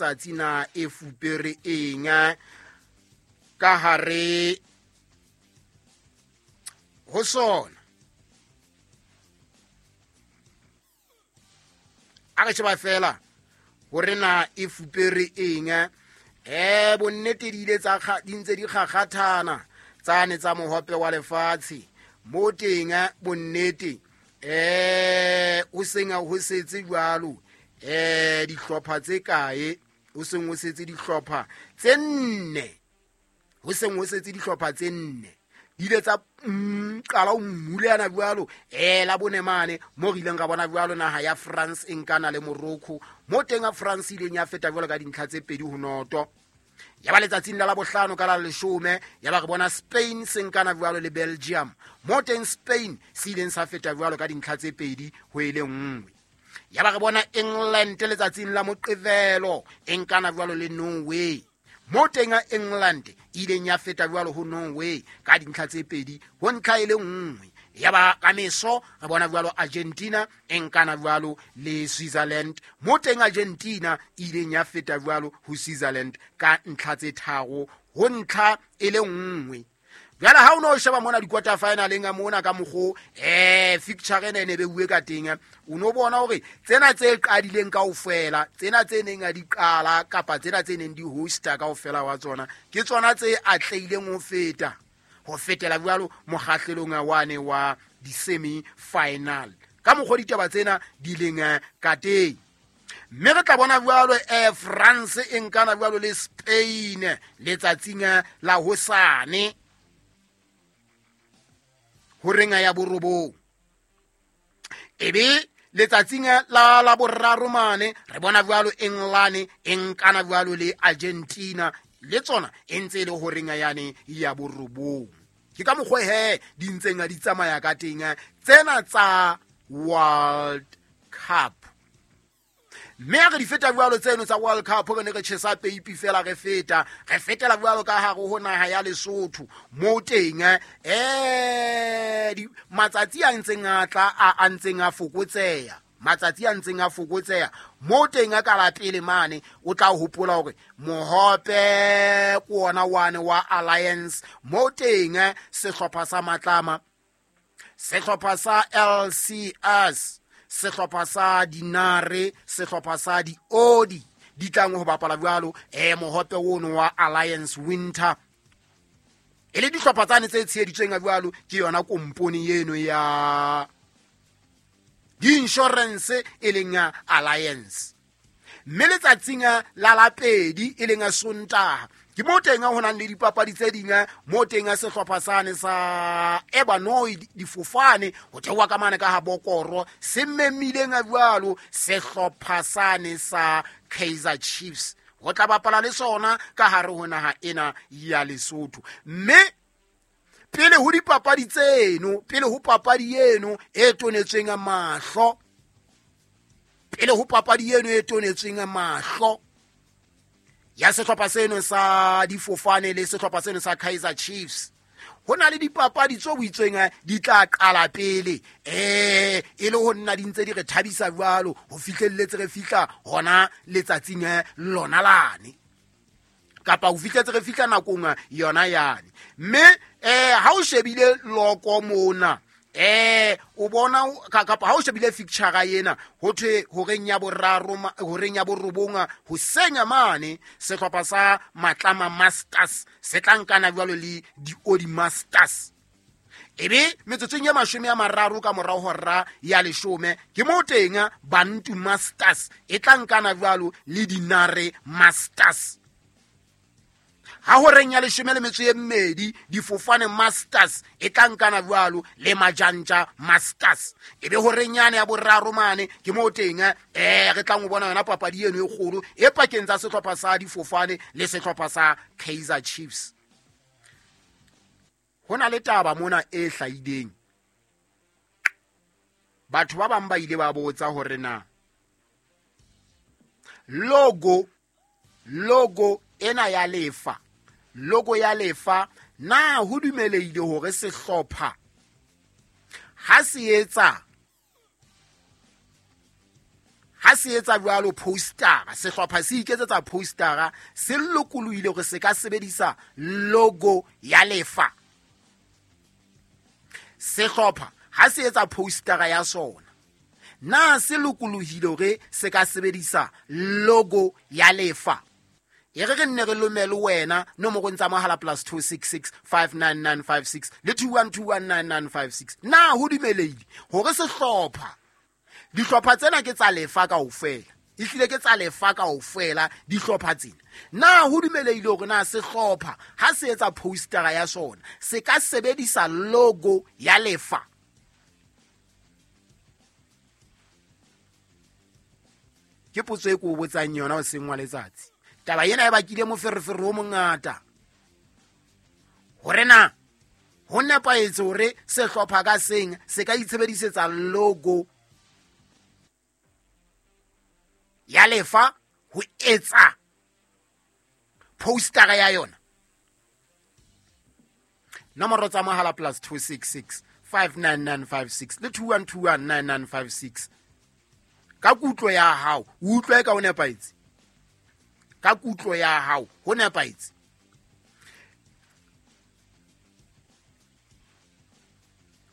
letsatsi na e fupere eng ka hare ho sona. A re sheba fela hore na e fupere eng. Bonnete di ile tsa di ntse di kgakgathana tsane tsa mohope wa lefatshe mo teng. Bonnete o seng ho setse jwalo dihlopha tse kae, o seng ho setse dihlopha tse nne, ho seng ho setse dihlopha tse nne di ile tsa qala ho mmulana jwalo. La bone mane mo re ileng ra bona jwalo naha ya France e nkana le Morocco, mo teng a France ileng ya feta jwalo ka dintlha tse 2-0. Ya ba letsatsing la bohlano ka la 10 ya ba re bona Spain se nkana jwalo le Belgium, mo teng Spain se ileng sa feta jwalo ka dintlha tse 2-1. Ya ba re bona England letsatsing la Moqebelo e nkana jwalo le Norway, mo teng England ileng ya feta jwalo ho Norway ka dintlha tse 2-1. Ya ba ka meso re bona jwalo Argentina e nkana jwalo le Switzerland, mo teng Argentina ileng ya feta jwalo ho Switzerland ka ntlha tse 3-1. Jwale ha o no sheba mona di-quarter finaleng a mona ka mokgo fixture ena e ne beuwe ka teng, o no bona hore tsena tse qadileng kaofela, tsena tse neng a di qala kapa tsena tse neng di hosta kaofela wa tsona, ke tsona tse atlehileng ho feta ho fetela jwalo mokgahlelong wane wa di-semi final ka mokgo ditaba tsena di leng ka teng. Mme re tla bona jwalo France e nkana jwalo le Spain letsatsing la hosane horeng ya 9. Ebe letsatsing la boraro mane re bona jwalo England e nkana jwalo le Argentina, le tsona e ntse e le horeng yane ya 9. Ke ka mokgwa he di ntseng di tsamaya ka teng tsena tsa World Cup. Mme ha re di feta jwalo tseno tsa World Cup, re ne re tjhesa peipi fela, re feta re fetela jwalo ka hare ho naha ya Lesotho mo teng matsatsi a ntseng a tla a ntseng a fokotseha, matsatsi a ntseng a fokotseha mo teng ka la pele mane o tla hopola hore mohope ke ona wane wa Alliance, mo teng sehlopha sa Matlama, sehlopha sa LCS, sehlopha sa Dinare, sehlopha sa Diodi di tlang ho bapala jwalo mohope ono wa Alliance Winter. E le dihlopha tsane tse tsheheditsweng jwalo ke yona kompone eno ya di-insurance e leng ya Alliance. Mme letsatsing la lapedi e leng Sontaha ke mo teng ho nang le dipapadi tse ding, mo teng sehlopha sane sa Ebanoi difofane ho theoha ka mane ka ha Bokoro se memileng jwalo sehlopha sane sa Kaizer Chiefs ho tla bapala le sona ka hare ho naha ena ya Lesotho. Mme pele ho dipapadi tseno, pele ho papadi eno e tonetsweng mahlo, pele ho papadi eno e tonetsweng mahlo ya sehlopha seno sa difofane le sehlopha seno sa Kaizer Chiefs, ho na le dipapadi tse buitsweng di tla qala pele e le ho nna di ntse di re thabisa jwalo ho fihlelletse re fihla hona letsatsing lona lane, kapa ho fihletse re fihla nakong yona yane. Mme ha o shebile loko mona o bona kapa ha o shebile fixture ena ho thwe horeng ya boraro, horeng ya borobong ho senya mane sehlopha sa Matlama Masters se tla nkana jwalo le Diodi Masters. Ebe metsotsong ya 30 ka morao hora ya 10 ke mo teng Bantu Masters e tla nkana jwalo le Dinare Masters. Ha horeng ya 12 difofane Masters e tla nkana jwalo le Majanja Masters. Ebe horeng yane ya boraro mane ke mo teng re tlang ho bona yona papadi eno e kgolo e pakeng tsa sehlopha sa difofane le sehlopha sa Kaizer Chiefs. Ho na le taba mona e hlahileng. Batho ba bang ba ile ba botsa hore na logo ena ya lefa, logo ya lefa na ho dumelehile hore sehlopha ha se etsa Ha se etsa jwalo postera, sehlopha se iketsetsa postera, se lokolohile hore se ka sebedisa logo ya lefa? Sehlopha ha se etsa postera ya sona, na se lokolohile hore se ka sebedisa logo ya lefa? E re re nne re lomele wena nomorong tsa mohala +266 59956 le 21219956. Na ho dumelehile hore sehlopha, dihlopha tsena ke tsa lefa kaofela, ehlile ke tsa lefa kaofela dihlopha tsena, na ho dumelehile hore na sehlopha ha se etsa postera ya sona se ka sebedisa logo ya lefa? Ke potso e ko o botsang yona o seng wa letsatsi. Taba ena e bakile moferefere o mongata hore na ho nepahetse hore sehlopha ka seng se ka itshebedisetsa logo ya lefa ho etsa postera ya yona. Nomoro tsa mohala +266 59956 le 21219956. Ka kutlo ya hao, o utlwe ka ho nepahetse? Ka kutlo ya hao ho nepahetse?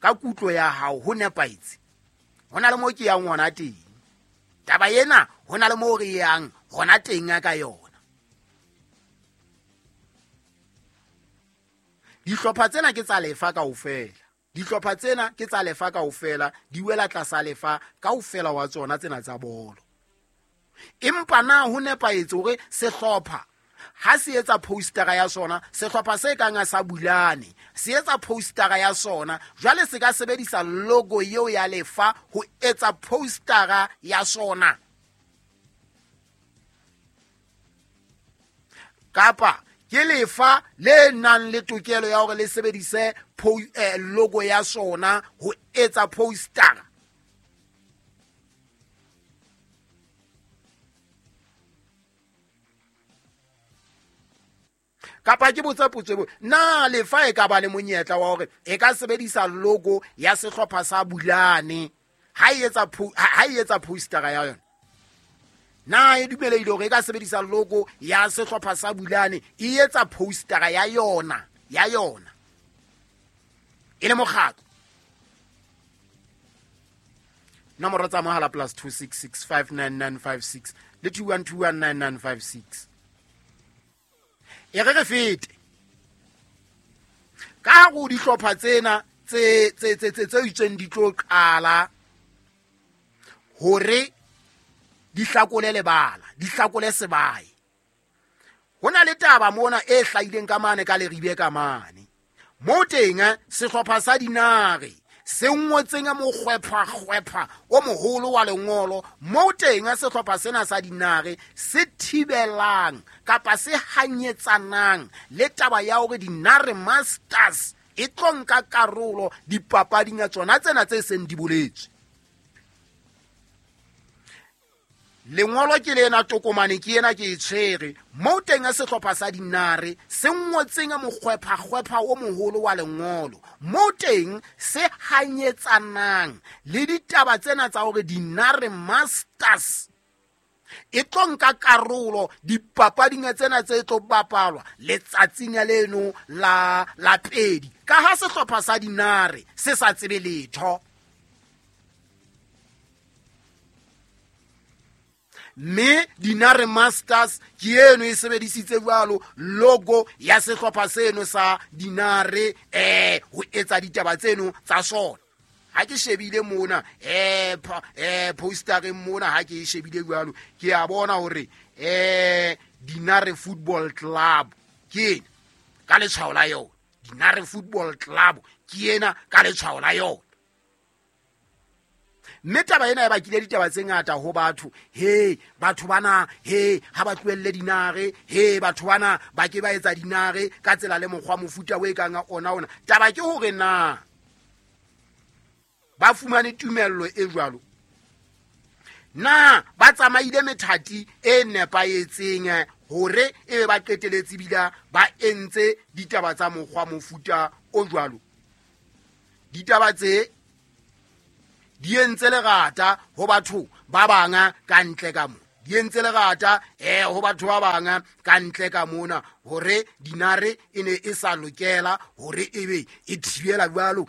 Ka kutlo ya hao ho nepahetse? Ho na le mo ke yang hona teng. Taba ena ho na le mo re yang hona teng ka yona. Dihlopha tsena ke tsa lefa kaofela. Dihlopha tsena ke tsa lefa kaofela, di wela tlasa lefa kaofela wa tsona tsena tsa bolo. Empa na ho nepahetse hore sehlopha ha se etsa postera ya sona, sehlopha se kang sa Bulane se etsa postera ya sona, jwale se ka sebedisa logo eo ya lefa ho etsa postera ya sona? Kapa ke lefa le nang le tokelo ya hore le sebedise logo ya sona ho etsa postera? Kapa ke botsa potso eo, na lefa e ka ba le monyetla wa hore e ka sebedisa logo ya sehlopha sa Bulane ha e etsa postera ya yona? Na e dumelehile hore e ka sebedisa logo ya sehlopha sa Bulane e etsa postera ya yona e le mokgatlo? Nomoro tsa mohala +266 59956 le 21219956. E re re fete ka go dihlopha tsena tse itseng di tlo qala hore di hlakole lebala, di hlakole sebae. Ho na le taba mona e hlahileng ka mane ka Leribe ka mane. Mo teng sehlopha sa Dinare se ngotseng mokgwepha-kgwepha o moholo wa lengolo, mo teng sehlopha sena sa Dinare se thibelang kapa se hanyetsanang le taba ya hore Dinare Masters e tlo nka karolo dipapading tsona tsena tse seng di boletswe. Lengolo ke lena, tokomane ke ena ke e tshwere. Mo teng sehlopha sa Dinare se ngotseng mokgwepha-kgwepha o moholo wa lengolo, mo teng se hanyetsanang le ditaba tsena tsa hore Dinare Masters e tlo nka karolo dipapading tsena tse tlo bapalwa letsatsing leno la pedi, ka ha sehlopha sa Dinare se sa tsebe letho. Mme Dinare Masters ke eno e sebedisitse jwalo logo ya sehlopha seno sa Dinare ho etsa ditaba tseno tsa sona. Ha ke shebile mona postereng mona, ha ke e shebile jwalo ke a bona hore Dinare Football Club ke ena ka letshwao la yona. Dinare Football Club ke ena ka letshwao la yona. Mme taba ena e bakile ditaba tse ngata ho batho. He batho bana, he ha ba tlohelle Dinare, he batho bana ba ke ba etsa Dinare ka tsela le mokgwa mofuta o e kang ona. Taba ke hore na ba fumane tumello e jwalo, na ba tsamaile methati e nepahetseng hore e be ba qeteletse bila ba entse ditaba tsa mokgwa mofuta o jwalo. Ditaba tse Di entse lerata ho batho ba bang ka ntle ka mo, di entse lerata ho batho ba bang ka ntle ka mona, hore dinare e ne e sa lokela hore ebe e thibela jwalo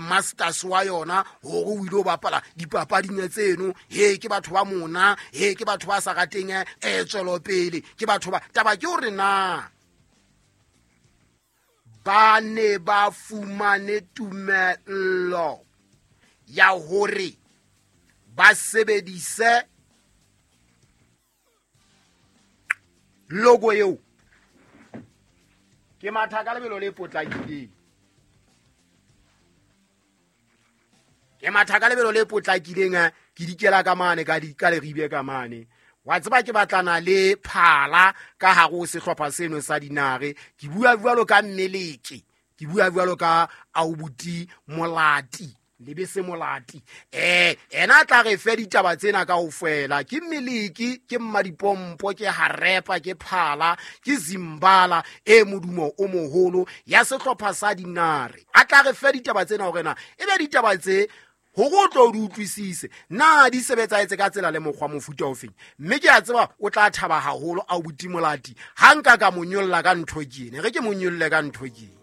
masters wa yona hore o ile ho bapala dipapading tseno. He, ke batho ba mona, he, ke batho ba sa rateng tswelopele, ke batho ba taba ke hore na ba ne ba fumane tumello ya hore ba sebedise logo eo. Ke matha ka lebelo le potlakileng, ke matha ka lebelo le potlakileng, ke dikela ka mane ka di ka leribe ka mane. Wa tseba ke batlana le phala ka hare ho sehlopha seno sa dinare. Ke bua jwalo ka mmeleke, ke bua jwalo ka aubuti Molati, Lebese Molati. Ena a tla re fe ditaba tsena kaofela. Ke mmeleki, ke mmadipompo, ke harepa, ke phala, ke zimbala e modumo o moholo ya sehlopha sa dinare. A tla re fe ditaba tsena hore na e be ditaba tse hore o tlo di utlwisise na di sebetsaetse ka tsela le mokgwa mofuta ofeng. Mme ke a tseba o tla thaba haholo aubuti Molati ha nka ka mo nyolla ka ntho ke ene. Re ke mo nyolle ka ntho ke ene.